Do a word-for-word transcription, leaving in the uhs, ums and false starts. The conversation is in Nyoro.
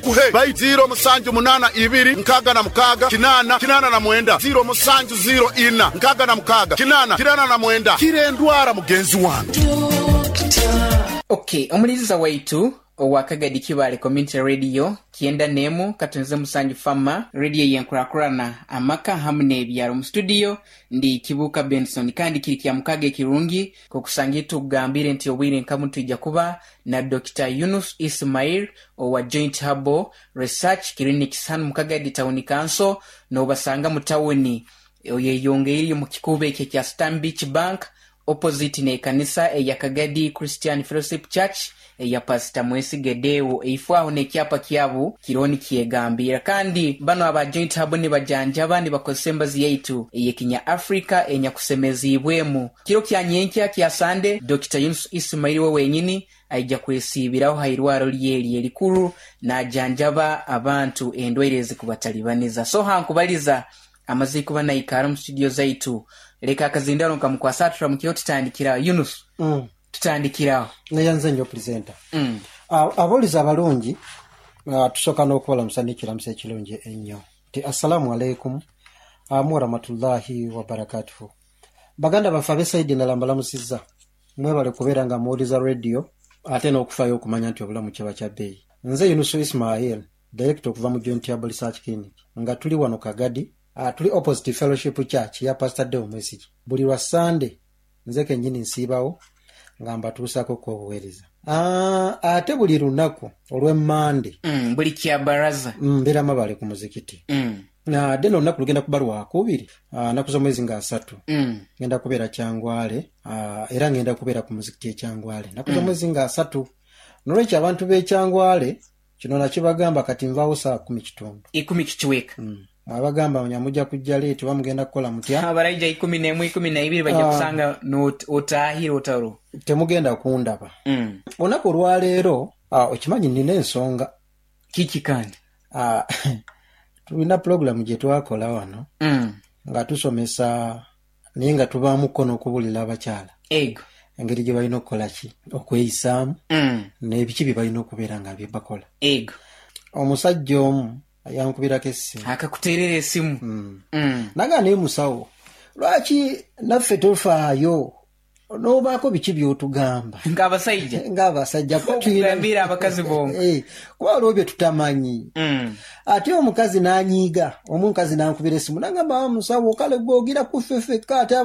Bagikuhe bai ziro musanju munana ibiri nkaga na mukaga kinana kinana na mwenda ziro musanju ziro ina nkaga na mukaga kinana kinana na mwenda kire endwara mugenzi wange. Okay, omuliriza waitu owa Kagadi Kibale Community Radio kyenda nemu katonze musanju fama radio yenkurakurana amaka hamu n'ebyaro. Mu studio ndi Kibuka Benson, kandi kiri kya mukaga ekirungi kokusangira tugambire nti obwire nkamu twija kuba na Doctor Yunus Ismail owa Joint Herbal Research Clinic hanu mu Kagadi Town Council, n'obasanga mu tawuni oyeyongeire mu kikubo ekyo kya Stanbic Bank, opposite n'ekanisa eya Kagadi Christian Fellowship Church eya Pastor Mwesige Deo. Eifo aho n'ekyapa kyabu kironi kyegambira. Kandi bano aba Joint Herbal nibajanjaba nibakozesa embazi yaitu eyekinya Africa enyakusemeziibwemu. Kiro kya nyenkya kya Sande, Doctor Yunus Ismail we wenyini aija kwesiibiraho hairwaro lyeri erikuru najanjaba abantu endwaire ezikubatalibaniza. So hankubaliza amaze kuba naikara mu studio zaitu, leka akazindaro nkamukwasa turamukiro tutandikiraho. Yunus, Mm. tutandikiraho. Neyanze nnyo, presenter. mm. Abawulizi abalungi, ah, tusooka n'okubalamusa n'ekiramuso ekirungi ennyo nti assalaamu aleikum warahmatullahi wabarakatuhu. Baganda baffe ab'esaidi endala, mbalamusizza. Mwebale kubeera nga muwuliza radio ate n'okufaayo okumanya nti obulamu kiba kya bbeeyi. Nze Yunusu Ismail, director okuva mu Joint Herbal Research Clinic, nga tuli wano Kagadi, uh, tuli opposite Fellowship Church ya Pastor Deo Mwesigi. Buli lwa Sande nze kennyini nsiibawo nga mbatuusaako ku obuweereza. Ah, ate buli lunaku olw'emmande mm. buli kya baraza mbeera Mabale ku muzikiti. mm. Ate no olunaku lugenda kuba lwakubiri, ah, naku z'omwezi nga asatu, mm. ngenda kubeera Kyangwale, ah, era ngenda kubeera ku muzikiti ekyangwale naku z'omwezi nga asatu. Nolwekyo abantu b'ekyangwale, kino nakibagamba, kati nvaawo saa kumi kitundu. Ikumi kikiweka. Mm. Mwabagamba nyamujja kujja late oba mugenda kukola mutya? Abaraija ikumi n'emu, ikumi naibiri bajja Ah. kusanga not- otahire otaro. Temugenda kundaba. mm. Olunaku olwaleero, ah, okimanyi nina ensonga. Kiki kandi? Ah, tulina pulogulamu gye twakola wano mm. nga tusomesa, naye nga tubaamuko n'okubulira abakyala ego engeri gye balina okukola ki, okweyisaamu mm. n'ebiki bye balina okubeera nga bye bakola. Ego omusajja omu yankubirako essimu. Akakuterera esimu? Mm. mm. Naga, naye musawo, lwaki naffe tofaayo n'obaako biki by'otugamba ng'abasajja ng'abasajja? Kuba tulina- okugambira abakazi bonka. Eh, kuba waliwo bye tutamanyi. mm. Ate omukazi n'anyiiga, omukazi n'ankubira essimu nagamba, "Ah, musawo, kale gwogira kuffeffekka ate."